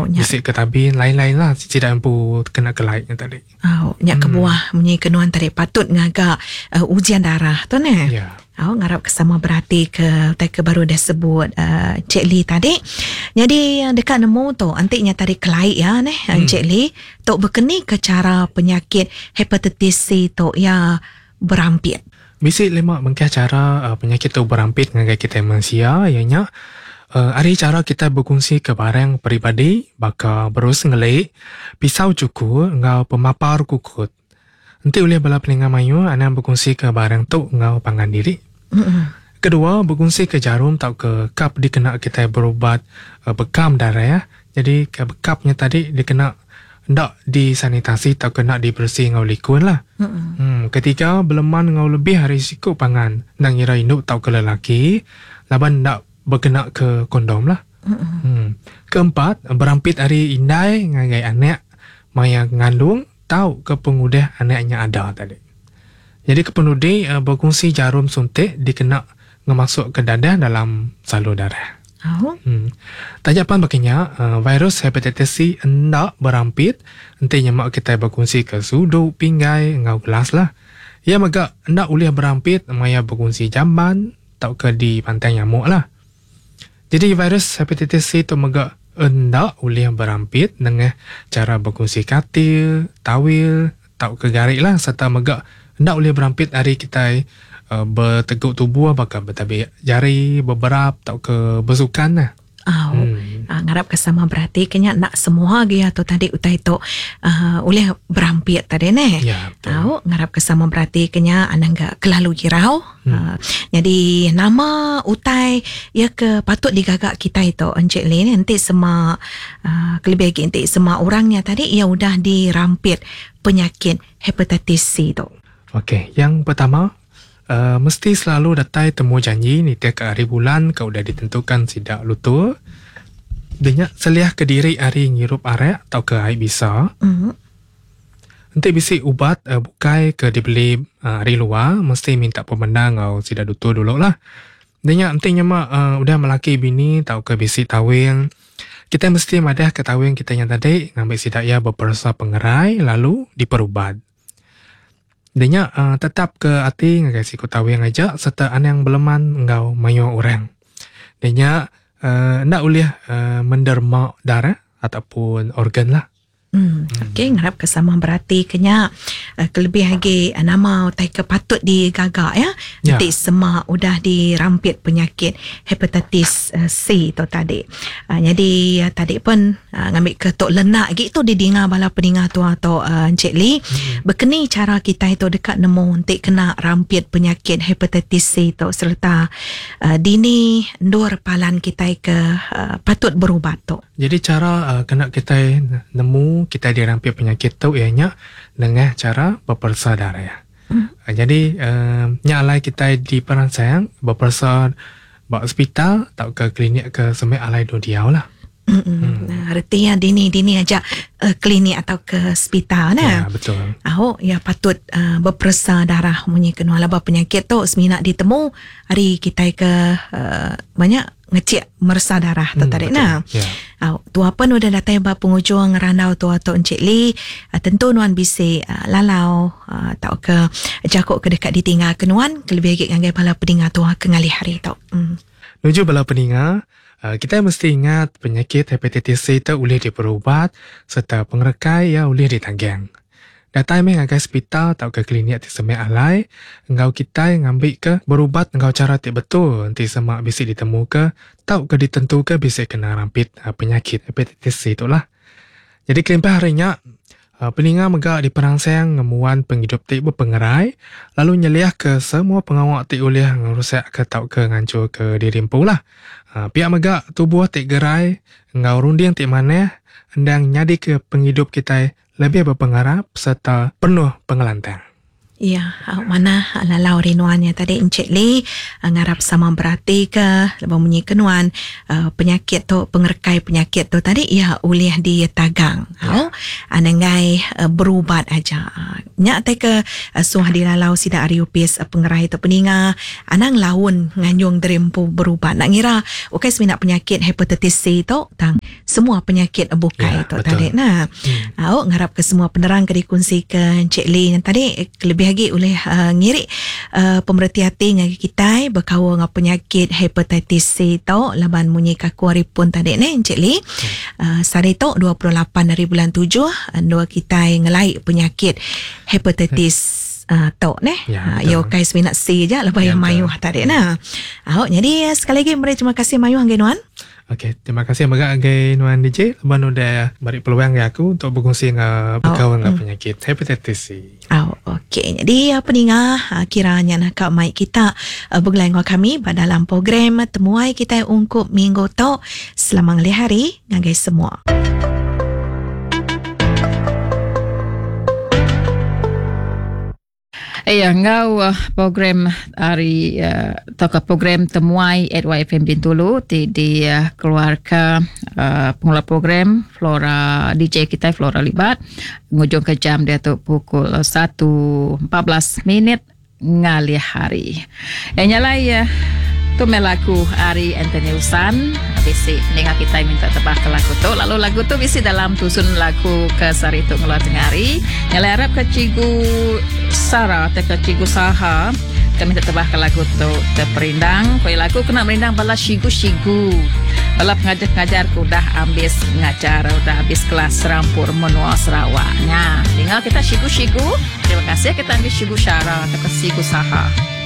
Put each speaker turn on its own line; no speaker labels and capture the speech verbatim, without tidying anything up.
Oh, nya.
Bisi ke tabin lain-lain lah sida empu kena kelai nya tadi.
Oh, nya hmm. kebuah munyi kenuan tadi patut ngaga uh, ujian darah tu ne.
Ya.
Oh, ngarap ke sama berarti ke utai ke baru dah sebut uh, Cik Lee tadi. Jadi dekat nemu tu antiknya tadi kelai ya neh hmm. Cik Lee tu berkeni ke cara penyakit hepatitis C tu ya berampit.
Bisi lima bengkah cara uh, penyakit tu berampit ngagai kita manusia ianya uh, ari cara kita berkongsi ke barang peribadi baka berus ngelik, pisau cukur enggau pemapar kukut. Enti ulih bala peninga mayu anang berkongsi ke barang tu enggau pangan diri.
Mm-mm.
Kedua, berkongsi ke jarum tau ke kap dikena kita berubat uh, bekam darah. Jadi ke bekapnya tadi dikena ndak disanitasi atau kena dibersih ngau likun lah.
Mm-mm.
Hmm, ketiga, beleman ngau lebih hari siku pangan nang ngira induk tau ke lelaki laban ndak berkena ke kondom lah.
Mm-mm.
Hmm. Keempat, berampit hari indai ngagai anak maya ngandung tau ke pengudah anaknya ada tadi. Jadi kepenudi uh, berkongsi jarum suntik dikena ngemasuk ke dadah dalam salur darah.
Oh.
Hmm. Tajapan bakinya uh, virus hepatitis C endak berampit enti nyemak kita berkongsi ke sudu, pinggai ngau gelas lah. Ia mega endak ulih berampit maya berkongsi jamban tau ke di pantai nyamuk lah. Jadi virus hepatitis C tu mega endak ulih berampit dengan cara berkongsi katil, tawil, tau ke garik lah serta mega endak boleh berampit hari kita uh, berteguk tubuh bakal bertabik jari, berberap tau ke bersukan lah.
Oh,
Hmm.
uh, ngarap ke sama berarti kenya nak semua ge atau tadi utai tu uh, oleh berampit tadi ne.
Ya, betul.
Tahu ngarap ke sama berarti kenya anang ga kelalu girau.
Hmm.
Uh, jadi nama utai ya ke patut digagak kita itu Encik Lee ni nanti sema uh, kelebih lagi nanti sema orangnya tadi ia udah dirampit penyakit hepatitis C tu.
Okey, yang pertama uh, mesti selalu datai temu janji ni tiap hari bulan kau udah ditentukan sidak lutur. Denya seliah ke diri hari ngirup arak atau ke air bisa.
Mm.
Nanti bisi ubat uh, bukai ke dibeli uh, hari luar mesti minta pemendang atau sidak lutur dulu lah. Denya nanti nyemak uh, udah melaki bini atau ke bisi tawing. Kita mesti madah ke tawing kita yang tadi ngambil sidak ya berperasa pengerai lalu diperubat. Denya uh, tetap ke hati ngagai siku tawing aja serta anang beleman engau mayo orang. Denya uh, ndak boleh uh, menderma darah ataupun organ lah.
Hmm. Okey, ngarap ke sama berarti kenya uh, kelebih lagi uh, nama utai ke patut digagak ya.
Ya.
Nanti semak udah dirampit penyakit hepatitis uh, C tu tadi. Uh, jadi uh, tadi pun uh, ngambil ke tok lenak lagi tu didinga bala peninga tu atau uh, Encik Lee.
Hmm.
Berkeni cara kita itu dekat nemu untuk kena rampit penyakit hepatitis C tu serta uh, dini ndur palan kita ke uh, patut berubat tu.
Jadi cara uh, kena kita nemu kita dirampit penyakit tu ianya dengan cara berpersa darah.
Hmm.
Uh, jadi uh, nya alai kita di perangsang berpersa ba hospital atau ke klinik ke semek alai do diau lah.
Hmm. Nah, artinya dini-dini aja uh, klinik atau ke hospital nah.
Ya, betul.
Ahok ya patut uh, berperesa darah munyi kena laba penyakit tu seminak ditemu hari kita ke uh, banyak ngecek meresa darah tu
Hmm,
tadi
betul.
nah.
Ya.
Au, tua pun udah datang ba penghujung randau tua tu Encik Lee, uh, tentu nuan bisi uh, lalau uh, tau ke jakuk ke dekat ditinggal ke nuan kelebih lagi ngagai bala peninga tua ke ngalih hari tu. Hmm.
Menuju bala peninga, uh, kita mesti ingat penyakit hepatitis C itu boleh diperubat serta pengerekai yang boleh ditanggang. Datai meh ngagai hospital atau ke klinik ti semek alai, engau kita ngambil ke berubat engau cara ti betul nanti semak bisi ditemu ke tau ke ditentu ke bisi kena rampit uh, penyakit hepatitis C itulah. Jadi kelimpah harinya uh, peninga megak di perangsang ngemuan penghidup ti berpengerai lalu nyeliah ke semua pengawak ti ulih ngerusak ke tau ke ngancur ke diri empu lah. Uh, pihak megak tubuh ti gerai engau runding ti maneh endang nyadi ke penghidup kita lebih berpengarap serta penuh pengelantang.
Ya, ah, mana lalau rinuannya tadi Encik Lee ah, ngarap sama berarti ke lebih munyi kenuan ah, penyakit tu pengerkai penyakit tu tadi ya ulih ditagang. Ya. Anangai berubat aja. Nyak te ke suah dilalau sida ari upis pengerai tu peninga anang laun nganjung derempu berubat. Nak ngira okey seminak penyakit hepatitis C tu tang semua penyakit bukai
Ya,
tu
betul.
tadi nah.
Hmm.
Au ngarap ke semua penerang ke dikongsi ke Encik Lee yang tadi lebih lagi oleh uh, ngirik uh, pemerhati hati ngagi kita berkaul dengan penyakit hepatitis C tu laban munyi kaku hari pun tadi ni Encik Lee. Hmm. Uh, sehari tu dua puluh lapan hari bulan tujuh dua kita ngelai penyakit hepatitis Uh, tok neh.
Ya,
Ha,
betul.
ya kai seminat C je lepas
Ya,
yang
betul.
mayuh tadi nah. Ahok jadi sekali lagi meri terima kasih mayuh angge nuan.
Okey, terima kasih megak angge nuan D J lepas udah beri peluang ke aku untuk berkongsi dengan berkawan dengan penyakit hepatitis C.
Oh, okey. Jadi apa ninga kiranya nak kak mic kita bergelai dengan kami pada dalam program temuai kita ungkup minggu tok. Selamat ngalih hari ngagai semua.
Ya, ngau uh, program hari uh, atau program temuai at Y F M Bintulu di, di uh, keluarga uh, pengelola program Flora D J kita Flora Libat ngujung ke jam dia tu pukul satu empat belas minit ngalih hari. Eh nyalai ya tu melaku hari Anthony Usan bisi dengar kita minta tebak ke lagu tu lalu lagu tu bisi dalam tusun lagu ke sari tu ngeluar tengah hari nyalai harap ke cikgu Sarah atau ke cikgu Saha kami minta tebak ke lagu tu terperindang kau lagu kena merindang bala sigu-sigu bala pengajar-pengajar ku dah ambis ngajar dah habis kelas serampur menua Sarawaknya dengar kita sigu-sigu terima kasih kita ambil sigu Sarah atau ke sigu Saha.